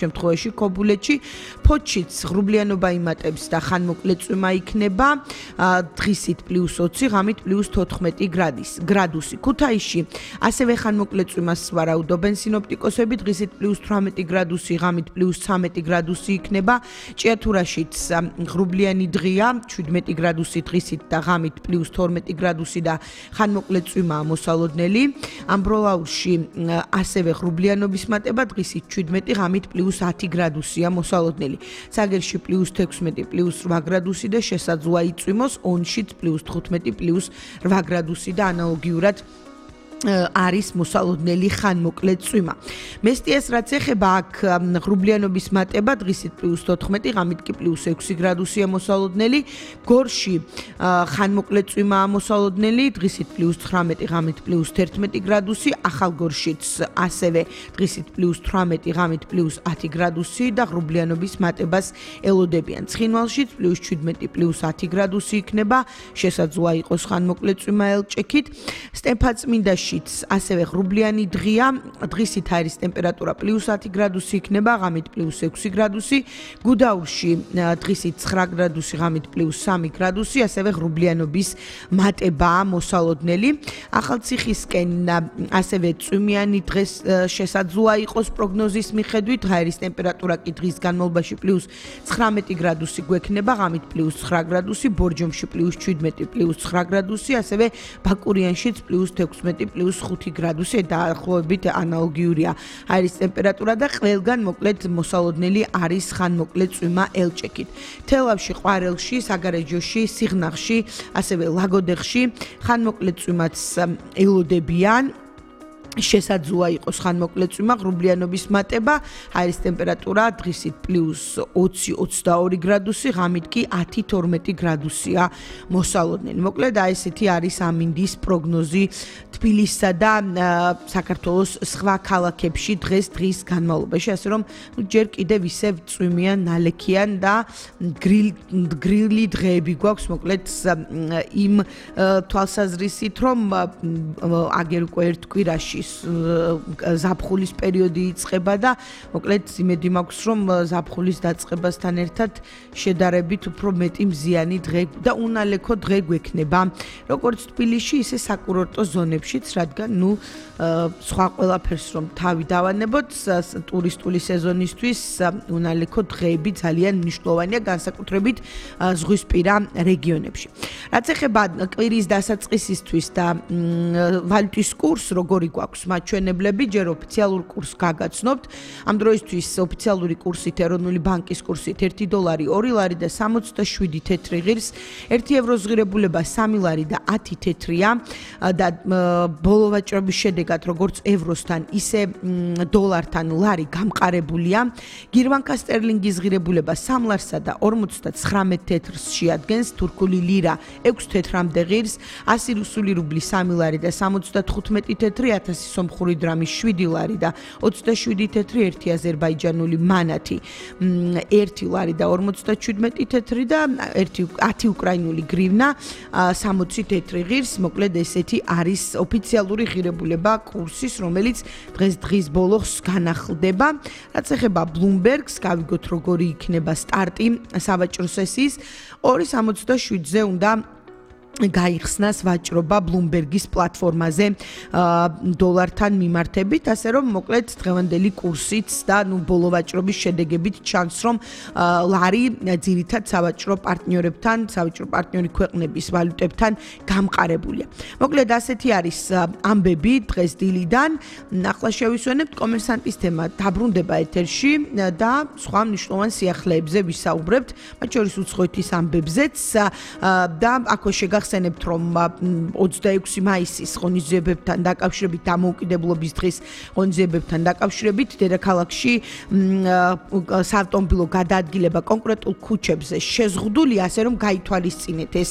შემთხვევაში ქობულეთში ფოთშიც ღრუბლიანობა იმატებს და ხანმოკლე წვიმა იქნება დღისით +20 ღამით +14 გრადუსი. ქუთაისში ასევე ხანმოკლე წვიმას ვარაუდობენ სინოპტიკოსები დღისით +18 გრადუსი ღამით +13 გრადუსი იქნება. ჭიათურაშიც ღრუბლიანი დღეა 17 გრადუსი დღისით და ღამით +12 გრადუსი და ხანმოკლე წვიმაა მოსალოდნელი. ამბროლაურში ასევე ღრუბლიანობის მატება დღისით 17 ღამით +10 გრადუსია მოსალოდნელი. საგერში +16 +8 გრადუსი და შესაძლოა იწვიმოს ონშიც +15 +8 გრადუსი და ანალოგიურად არის მოსალოდნელი ხანმოკლე წვიმა. მესტიას რაც ეხება აქ ღრუბლიანობის მატება დღისით +14 ღამით კი +6 გრადუსია მოსალოდნელი. გორში ხანმოკლე წვიმაა მოსალოდნელი დღისით +19 ღამით +11 გრადუსი. ახალგორშიც ასევე დღისით +18 ღამით +10 გრადუსი და ღრუბლიანობის მატებას ელოდებიან. ცხინვალშიც +17 +10 გრადუსი იქნება. შესაძლოა იყოს ხანმოკლე წვიმა ელჭექით. სტეფანწმინდაში ასევე ღრუბლიანი დღეა დღისით არის ტემპერატურა +10 გრადუსი იქნება ღამით +6 გრადუსი. გუდაურში დღისით 9 გრადუსი ღამით +3 გრადუსი ასევე ღრუბლიანობის მატებაა მოსალოდნელი. ახალციხისკენ ასევე წვიმიანი დღეს შესაძლოა იყოს პროგნოზის მიხედვით ღაერის ტემპერატურა კი დღის განმავლობაში +19 გრადუსი გვექნება ღამით +9 გრადუსი. ბორჯომში +17 +9 გრადუსი ასევე ბაკურიანშიც +16 +5 გრადუსი დაახლოებით ანალოგიურია აირის ტემპერატურა და ყველგან მოკლედ მოსალოდნელი არის ხანმოკლე წვიმა ელჭექით. თელავში, ყვარელში, საგარეჯოში, სიღნაღში, ასევე ლაგოდეხში ხანმოკლე წვიმაც ელოდებიან. შესაძლოა იყოს ხანმოკლე წვიმა ღრუბლიანობის მატება აირის ტემპერატურა დღისით +20-22 გრადუსი ღამით კი 10-12 გრადუსია მოსალოდნელი. მოკლედ აი ესეთი არის ამინდის პროგნოზი თბილისსა და საქართველოს სხვა ქალაქებში დღის განმავლობაში, ასე რომ ჯერ კიდევ ისევ წვიმიან, ნალექიან და გრილი დღეები გვაქვს მოკლედ იმ თვალსაზრისით რომ აგერ უკვე ერთ კვირაში ზაფხულის პერიოდი იწყება და მოკლედ იმედი მაქვს რომ ზაფხულის დაწყებასთან ერთად შედარებით უფრო მეტი მზიანი დღე და უნალექო დღე გვექნება როგორც თბილისში ისე საკურორტო ზონებშიც რადგან სხვა ყველაფერს რომ თავი დავანებოთ ტურისტული სეზონისთვის უნალექო დღეები ძალიან მნიშვნელოვანია განსაკუთრებით ზღვისპირა რეგიონებში. რაც ეხება კვირის დასაწყისისთვის და ვალუტის კურსს როგორი გვაქვს მაჩვენებლები ჯერ ოფიციალურ კურსს გაგაცნობთ. ამ დროისთვის ოფიციალური კურსით ეროვნული ბანკის კურსით 1 დოლარი 2 ლარი და 67 თეთრი ღირს, 1 ევროს ღირებულება 3 ლარი და 10 თეთრია და ბოლო ვაჭრობის შედეგად როგორც ევროსთან ისე დოლართან ლარი გამყარებულია. გირვანკა სტერლინგის ღირებულება 3 ლარსა და 59 თეთრს შეადგენს, თურქული ლირა 6 თეთრამდე ღირს, 100 რუსული რუბლი 3 ლარი და 75 თეთრი, 1000 სომხური დრამი 7 ლარი და 27 თეთრი, 1 აზერბაიჯანული მანათი 1 ლარი და 57 თეთრი და 10 უკრაინული გრივნა 60 თეთრი ღირს. მოკლედ ესეთი არის ოფიციალური ღირებულება კურსის, რომელიც დღის ბოლოს განახლდება. რაც ეხება Bloomberg-ს, გავიგოთ როგორი იქნება სტარტი სავაჭრო სესიის 2.67-ზე უნდა გაიხსნას ვაჭრობა Bloomberg-ის პლატფორმაზე დოლართან მიმართებით, ასე რომ მოკლედ დღევანდელი კურსიც და ბოლო ვაჭრობის შედეგებით ჩანს, რომ ლარი ძირითად სავაჭრო პარტნიორი ქვეყნების ვალუტებთან გამყარებულია. მოკლედ ასეთი არის ამბები დღეს დილიდან. ახლა შევისვენებთ კომერსანტის თემა დაბრუნდება ეთერში და სხვა მნიშვნელოვან სიახლეებზე ვისაუბრებთ, მათ შორის უცხოეთის ამბებზეც და აქვე შეგახსენებთ, რომ 26 მაისის ღონისძიებებთან დაკავშირებით, დამოუკიდებლობის დღის ღონისძიებებთან დაკავშირებით, დედაქალაქში საავტომობილო გადაადგილება კონკრეტულ ქუჩებზე შეზღუდულია, ასე რომ გაითვალისწინეთ ეს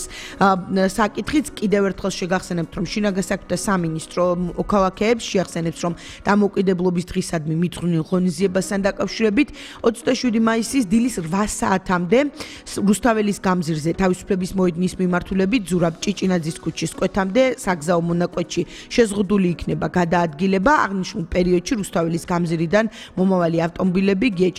საკითხიც. კიდევ ერთხელ შეგახსენებთ, რომ შინაგან საქმეთა სამინისტრო მოქალაქეებს შეახსენებს, რომ დამოუკიდებლობის დღისადმი მიძღვნილ ღონისძიებასთან დაკავშირებით 27 მაისის დილის 8 საათამდე რუსთაველის გამზირზე თავისუფლების მოედნის მიმართულებით ზურაბ მშობლად ჭიჭინაძის ქუჩის კვეთამდე საგზაო მონაკვეთში შეზღუდული იქნება გადაადგილება. აღნიშნულ პერიოდში რუსთაველის გამზირიდან მომავალი ავტომობილები გიეჭან